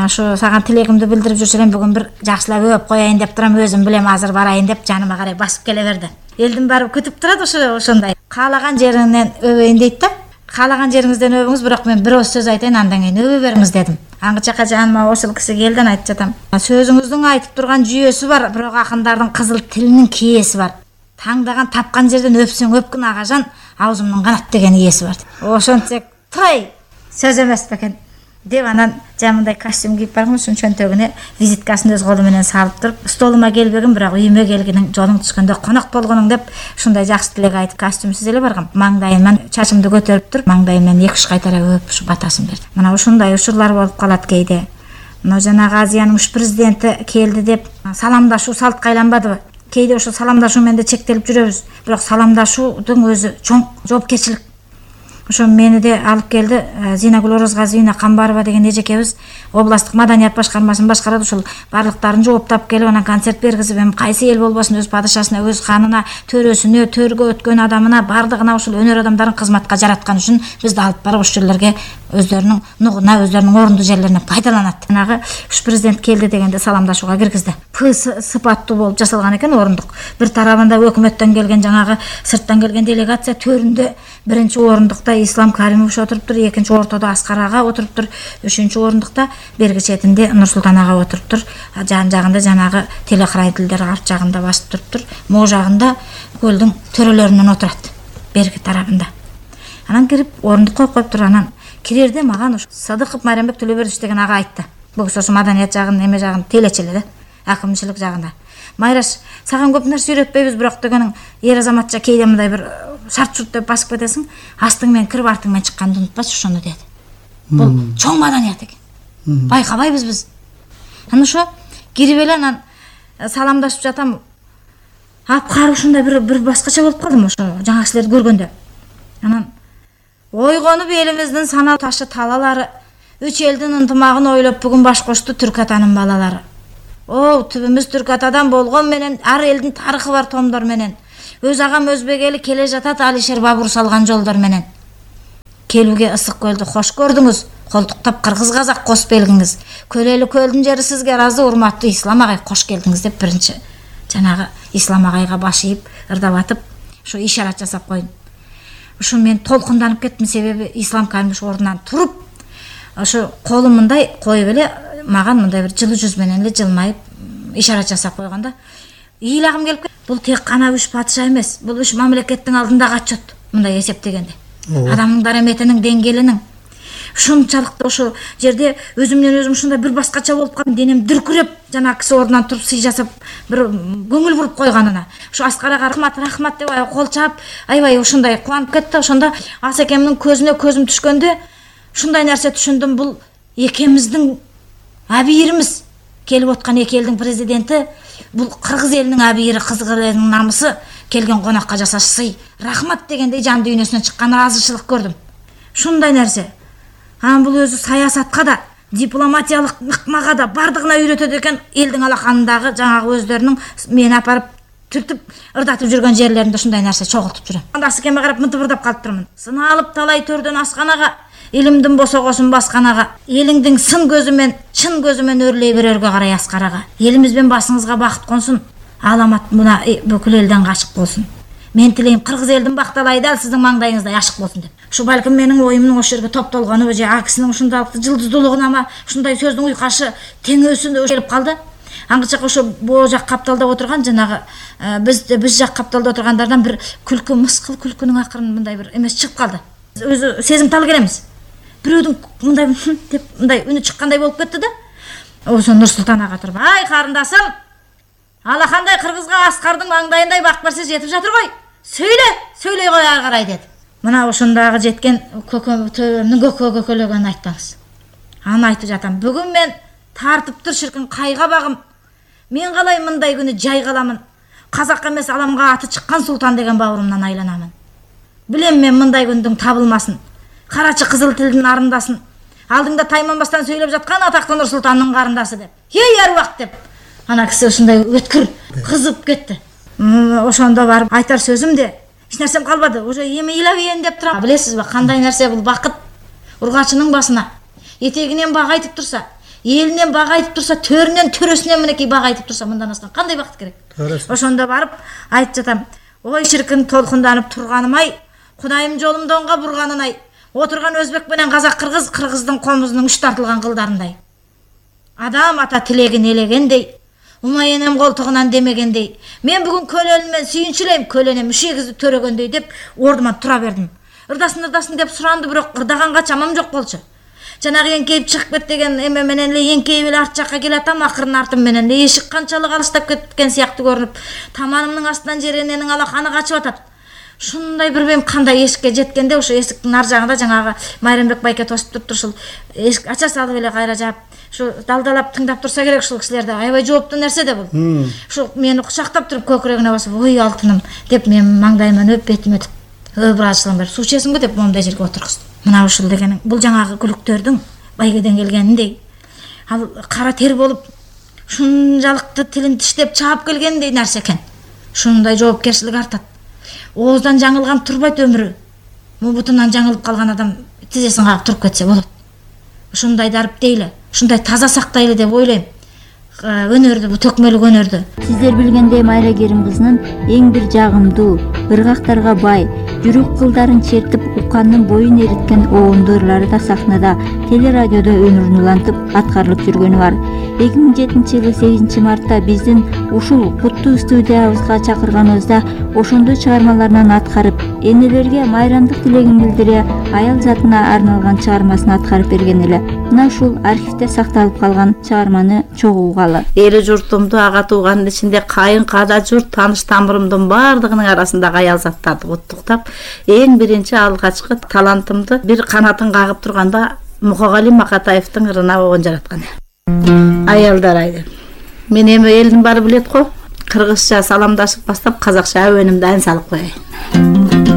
[SPEAKER 2] ошо сага тилегимди билдирип жүрсө элем, бүгүн бир жакшылап өп коеюн деп турам, өзүм билем азыр барайын деп жаныма карай басып келе берди. Элдин баары күтүп турат ошо ошондой. Каалаган жеринен өбөйүн дейт да. Каалаган жериңизден өбүңүз, бирок мен бир ооз сөз айтайын, андан кийин өбө бериңиз дедим. Аңгычакка жаныма ошол киши келди, айтып жатам: "Сөзүңүздүн айтып турган жүйөсү бар, бирок акындардын кызыл тилинин кээси бар. Таңдаган тапкан жерден өпсөң өпкүн агажан, аузумдун канат деген ийеси бар. Ошончо туй, сөз эмес бекен" деп, анан жамындай костюм кийип барган, ушун чөнтөгүнө визиткасын өз колу менен салып туруп, "Столума келбегин, бирок үйүмө келгениң, жолуң түшкөндө конок болгонуң" деп ушундай жакшы тилек айтып костюмсуз эле баргам. Маңдайыман чачымды көтөрүп туруп, маңдайымдан эки үч кайтара өпүп ушу батасын берди. Мына ушундай учурлар болуп калат кээде. Мына жанагы Азиянын уш президенти келди деп саламдашуу салтка айланбадыбы? Кээде ошо саламдашуу менен да чектелип жүрөбүз. Бирок саламдашуудун өзү чоң жоопкерчилик. Ошо мени де алып келди, Зинагүл Орозгазиевна Камбарова деген эжекебиз областтык маданият башкармасын башкарат. Ушул барлыктарын жооптап келип, анан концерт бергизип, эми кайсы эл болбосун өз падышасына, өз ханына, төрөсүнө, төргө өткөн адамына, бардыгына ушул өнөр адамдарын кызматка жараткан үчүн бизди алып барып ушул жерлерге өздөрүнүн нугуна, өздөрүнүн орунду жерлерине пайдаланат. Жанагы уш президент келди дегенде саламдашууга киргизди. П сыпаттуу болуп жасалган экен орундук. Бир тарабында өкмөттөн келген, жанагы сырттан келген делегация, төрүндө биринчи орундукта оңдукта Ислам Каримович отуруптур, экинчи ортодо Аскар ага отуруптур, үчүнчү орундукта берги четинде Нурсултан ага отуруптур. Жан жагында жанагы телохранительдер арт жагында басып туруптур. Могу жагында көлдүн төрөлөрүнөн отурат, берги тарабында. Анан кирип орундукка коюптур. Анан кирерде маган ушу Садыков Майрамбек Төлөбердиевич деген ага айтты. Бул киши ошо маданият жагын, эме жагын телечи эле да, акымчылык жагында. Майраш, саган көп нерсе үйрөтпөйбүз, бирок дегенин эр азаматча кейде мындай бир шарт-шурт деп басып кетесиң, астың менен кирип артың менен чыкканды унутпачы ошону деди. Бул чоң маданият экен. Байкабайбыз биз. Анан ошо кирип эле анан саламдашып жатам. Апкары ушундай бир бир башкача болуп калдым ошо жаңа кишилерди көргөндө. Анан ойгонуп элибиздин санаа ташы талалары, үч элдин ынтымагын ойлоп бүгүн баш кошту түрк атанын балалары. О, түбүмүз түрк атадан болгон менен ар элдин тарыхы бар томдор менен. Өз агам өзбек эли келе жатат Алишер Бабур салган жолдор менен. Келүүгө ысык көлдү кош көрдүңүз, колтуктап кыргыз казак кос белгиңиз. Көлөлү көлдүн жери сизге ыраазы, урматтуу Ислам агай, кош келдиңиз деп биринчи жанагы Ислам агайга баш ийип, ырдап атып, ошо ишарат жасап койдум. Ошо мен толкунданып кеттим, себеби Ислам Каримович ордунан туруп, ошо колун мындай коюп эле маган мындай бир жылуу жүз менен эле жылмайып ишарат жасап койгонда, ийлагым келип, бул тек кана үч патша эмес, бул үч мамлекеттин алдындагы отчет, мындай эсептегенде. Адамдын дараметинин деңгээлинин ушунчалык ошо жерде өзүмдөн өзүм ушундай бир башкача болуп калдым, денем дүркүрөп, жана киши ордунан туруп сый жасап бир көңүл буруп койгонуна. Ошо Аскарага рахмат, рахмат деп кол чаап, аябай ушундай кубанып кетти. Ошондо Асекемдин көзүнө көзүм түшкөндө ушундай нерсе түшүндүм, бул экемиздин абийирimiz, келип откан эки элдин президенти, бул кыргыз элинин абийири, кыргыз элинин намысы, келген конакка жасаш сый, рахмат дегендей жан дүйнөсүнөн чыккан ыраазычылык көрдүм. Ушундай нерсе. Анан бул өзү саясатка да, дипломатиялык ыкмага да бардыгына үйрөтөт экен. Элдин алаканындагы жаңагы өздөрүнүн мени апарып түртүп ырдатып жүргөн жерлеринде ушундай нерсе чогултуп жүрөм. Анда Асекеме карап мынтип ырдап калыптырмын. Сыналып талай төрдөн асканага, илимдин босогосун басканага, элиңдин сын көзүмен, чын көзүмен өрлөй берерге карай Аскарага. Элимиз бен басыңызга бакыт консун, аламат мына бүкүл элден качык болсун. Мен тилейм кыргыз элдин бакталай дал сиздин маңдайыңыздай ашык болсун деп. Ушу балким менин оюмдун ошол жерге топтолгону, же акисинин ушундайлык жылдыздуулугуна, ушундай сөздүн уйкашы теңөөсүндө келип калды. Аңгычак ошо боо жак капталда отурган жанагы биз биз жак капталда отургандардан бир күлкү, мыскыл күлкүнүн акырын мындай бир эмес чыгып калды. Өзү сезимтал келебиз. Бирөөдүн мындай деп мындай үнү чыккандай болуп кетти да. Ошо Нурсултан ага туруп, ай карындасым, алакандай кыргызга Аскардын маңдайындай бак берсе жетип жатыр гой. Сөйлө, сөйлөй кой ары карай деді. Мына ошондагы жеткен көкөмдүн көкө көкөлөгөнүн айтпаңыз. Аны айтып жатам. Бүгүн мен тартыптыр ширкин кайга багым. Мен калай мындай күнү жай каламын. Казак эмес аламга аты чыккан султан деген бауырумдан айланамын. Билем мен мындай күндүн табылмасын. Карачы кызыл тилдин арындасын. Алдыңда тайманбастан сөйлөп жаткан атактуу Нурсултандын карындасы деп. Ей аруак деп. Ана киши ушундай өткүр кызып кетти. Ошондо барып айтар сөзүм де эч нерсем калбады. Уже эми ыйлабейин деп турам. Билесизби, кандай нерсе бул бакыт? Ургачынын басына этегинен бак айтып турса, элинен бак айтып турса, төрүнөн төрөсүнөн мынакей бак айтып турса, мындан астан кандай бакыт керек? Ошондо барып айтып жатам. Ой ширкин толкунданып турганым-ай, Кудайым жолумду оңго бурганын-ай. Отурган өзбек менен казак кыргыз, кыргыздын комузунун үч тартылган кылдарындай. Адам ата тилегин элегендей, умай энем колтугунан демегендей. Мен бүгүн көлөнүмөн сүйүнчүлөйм, көлөнөм үшегизди төрөгөндөй деп ордуман тура бердим. Ырдасын ырдасын деп суранды, бирок ырдаганга чамам жок болчу. Жанагы эңкейип чыгып кет деген эме менен эле эңкейип эле арт жакка келатам, акырын артым менен эле эшик канчалык алыстап кеткен сыяктуу көрүнүп, таманымдын астынан жерененин алаканы качып атат. Шундай бир бем кандай эшикке жеткенде ошо эшиктин ар жагында жанагы Майрамбек байке тосуп туруптур, ушул эшик ача салып эле кайра жаап, ушу далдалап тыңдап турса керек ушул кишилерди. Аябай жооптуу нерсе да бул. Ушу мени кучактап туруп көкүрөгүнө басып, "Ой алтыным" деп мен маңдайыман өп бетиме өтүп, "Ой бразылым бер, суу ичесиңби?" деп момундай жерге отургузду. Мына ушул дегенин бул жаңагы күлүктөрдүн байгеден келгениндей, ал кара тер болуп ушунчалыкты тилин тиштеп чаап келгендей нерсе экен. Ушундай жоопкерчилик артат. Ооздан жаңылган турбайт өмүрү. Мубутунан жаңылып калган адам тизесин кагып туруп кетсе болот. Ушундай дарып дейли, ушундай таза сактайлы деп ойлойм. өнөрдү, бул төкмөлүк өнөрдү.
[SPEAKER 1] Сиздер билгендей Майра Керим кызынын эң бир жагымдуу, ыргактарга бай, жүрөк кылдарын чертип уккандын боюн эриткен оонду ырлары да сахнада, телерадиодо өмүрүн улантып аткарылып жүргөнү бар. эки миң жетинчи жылы сегизинчи мартта биздин ушул куттуу студиябызга чакырганыбызда ошондой чыгармаларынан аткарып, энелерге майрамдык тилегин билдире, аял затына арналган чыгармасын аткарып берген эле. Мына ушул архивде сакталып калган чыгарманы чогуу угалы.
[SPEAKER 3] Эли журтумду, ага туугандын ичинде кайын када журт, тааныш тамырымдын баардыгынын арасындагы аял заттарды куттуктап, эң биринчи алгачкы талантымды бир канатын кагып турганда Мукагали Макатаевдин ырына болгон жараткан. Аялдар айды. Мен эми элдин баары билет го. Кыргызча саламдашып баштап казакча әуенімді ән салып коеюн.